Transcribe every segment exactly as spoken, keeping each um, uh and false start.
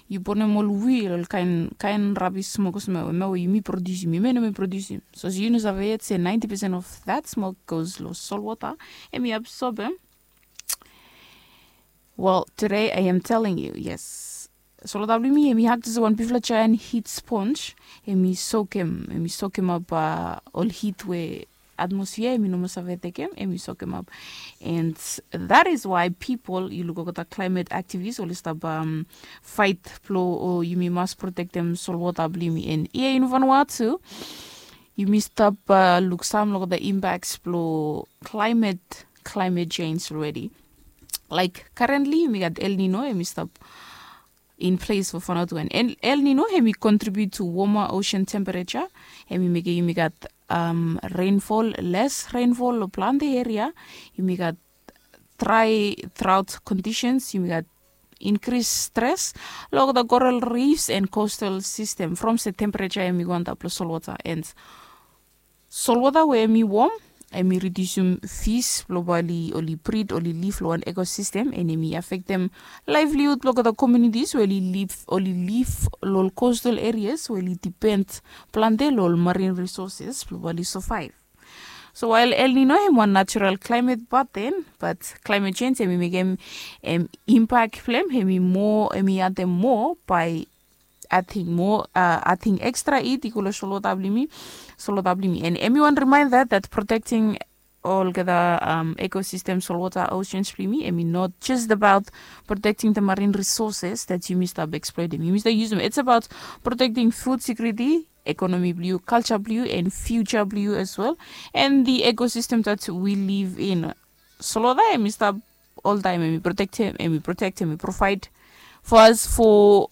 yu bonem ol wil ol kain kain rabis smok olsem em we yumi produsim yumi no mi produsim. So yu no save yet se ninety percent of that smok goes lo solwota. Em i absorb em. Well, today I am telling you, yes. Solwota blong yumi em i hak jis wan bifala jaen hit sponj. Em i sokem em i sokem ap ol hit we atmosfia em i no mas save tekem em i sokem ap. And that is why pipol yu luk olgeta klaimet aktivis oli stap fait blong o yumi mas protektem solwota blong yumi. And ia yunivon wa tu yumi stap luksam long olgeta impaks blong klaimet klaimet jenj olredi. Laik karentli yumi gat elnino em i stap in ples fo fanaotu and elnino em i kontribut tu woma osen tempereja. Em i mekem yumi gat renfol les renfol long plante eria. Yumi gat drai draot kondisens yumi gat inkris stres long olgeta koral rifs and kostal sistem from se tempereja em i go antap long solwota and solwota we em i wom em i ridiusim fis blong bae oli brid oli liv long wan ekosistem and em i afektem laevlihud blong olgeta komunitis we oli liv long ol kostal erias we oli dipen plante long ol marin risoses blong bae oli savaev. So wael elnino em wan natural klaimet baten bat klaimet jenj em i mekem em impak blong em em i moa em i atem moa bae ating moa ating ekstra it i go long solwota blong yumi. Solwota blong yumi and em i wan rimaenda dat protekting olgeta ekosistem solwota osens blong yumi em i not jes abaot protekting de marin risoses dat yumi stap eksploetem yumi stap yusum its abaot protekting fud sekuriti, ekonomi blong yu kalja blong yu and fiuja blong yu as well. And the ekosistem dat wi liv in solwota em i stap oltaem em i protektem em i protektem i provaed fo as fo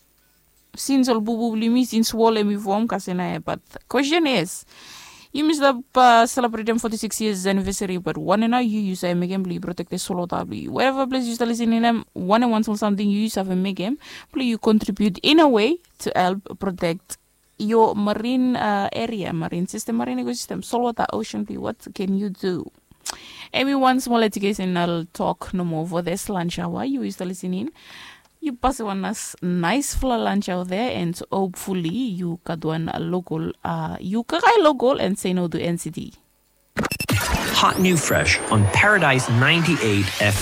sins ol bubu blong yumi sins wol em i fom kasem nao ya bat kwestin is yumi stap selebretem foti siks yias anivesari bat wanem nao yu yu save mekem blong yu protektem solwota blong yu weva ples yu stap lisening em wanem wan smol samting yu yu save mekem blong yu kontribiut in a wei tu help protek yo marin eria marin sistem marin ekosistem solwota osen blong yu wat ken yu du? Em i wan smol ejukesen nao tok nomo fo this lanjawa yu yu stap lisening yu pasim wan naesfala lanjawa there and hopefully yu gat wan lokol yu kakae lokol and se no tu n c t. Hot new fresh on paradise ninety-eight f.